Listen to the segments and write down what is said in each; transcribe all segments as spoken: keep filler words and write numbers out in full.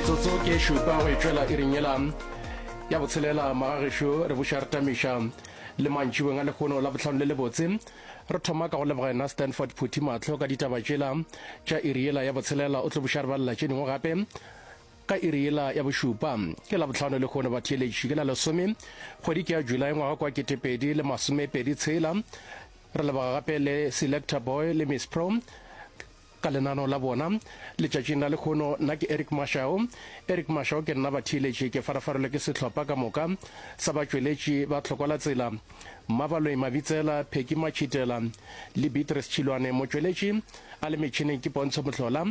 Metsotso ke šupa go e tšwela iring yela ya botshelela. Magagešo, re buša re tamiša le mantšibeng a lekgono la bohlano le lebotse. Re thoma ka go leboga yena Stanford Phuthi Mahlo ka ditaba tšela tša iri yela ya botshelela. O tlo buša re balela tše dingwe gape ka iri yela ya bošupa. Ke la bohlano lekgono batheeletši, ke la lesome kgwedi ke ya July ngwaga kwa ketepedi le masomepedi tshela. Re leboga gape le Selector Boy le Miss Pro ka lenano la bona letšatšing la lekgono. Nna ke Eric Mashao, Eric Mashao ke nna batheeletši, ke farafarelwe ke sehlopha ka moka sa batšweletši ba Tlhoko la Tsela, Mmabaloi Mabitsela, Pheki Matšhitela le Beatrice Tšhilwane. Motšweletši a le metšhineng ke Pontsho Mohlola,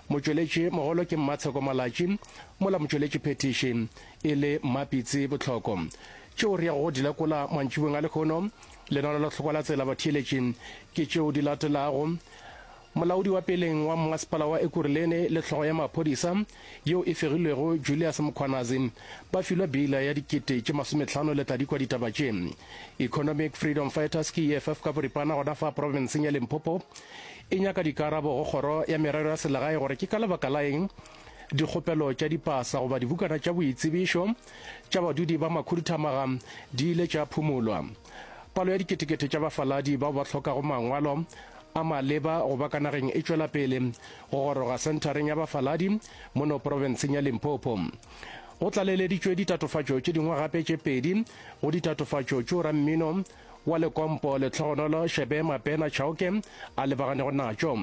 motšweletši mogolo ke Mmatsheko Malatši, mola motšweletši phethiši e le Mmapitsi Botlhoko. Tšeo re yago go di lekola mantšibeng a lekgono lenano la Tlhoko la Tsela batheeletši ke tšeo di latelago: molaodi wa peleng wa mmasepala wa Ekurhuleni le hlogo ya maphodisa yeo e fegilwego Julius Mkhwanazi ba filwe beila ya dikete tše masomehlano. Le tla di kwa ditaba tše. Economic Freedom Fighters, ke E F F ka boripana, gona fa profenseng ya Limpopo e nyaka dikarabo go kgoro ya merero ya selegae gore ke ka lebaka la eng dikgopelo tša dipasa goba dibukana tša boitsebišo tša badudi ba makhuduthamaga di ile tša phumolwa. Palo ya diketekete tša bafaladi bao ba hlokago mangwalo a maleba go ba ka nageng e tšwela pele go goroga senthareng ya bafaladi mono profenseng ya Limpopo. Go tlaleleditšwe ditatofatšo tše dingwe gape tše pedi go ditatofatšo tšeo rammino wa lekompo Letlhogonolo Shebe Mapena Chauke a lebaganego natšo.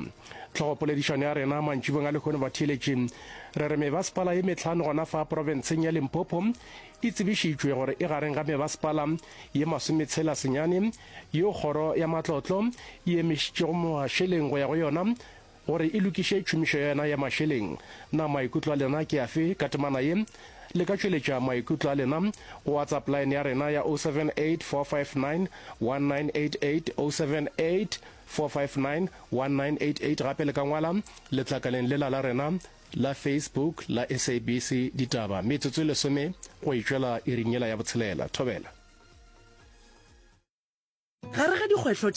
Tlhogopoledišano ya rena mantšibeng a lekgono batheeletši re re mebasepala ye metlhano gona fa profenseng ya Limpopo e tsebišitšwe gore e gareng ga mebasepala ye masometshela senyane yeo kgoro ya matlotlo e emišitšego mašeleng go ya go yona gore e lokiše tšhomišo ya yona ya mašeleng. Na maikutlo a lena ke afe ka temana ye? Le ka tšweletša maikutlo a lena go WhatsApp line ya rena ya zero seven eight, four five nine, one nine eight eight, zero seven eight, four five nine, one nine eight eight. Gape le ka ngwala letlakaleng lela la rena la Facebook la S A B C Ditaba. Metsotso e lesome go e tšwela iring yela ya botshelela. Thobela. Gare ga dikgwetlho.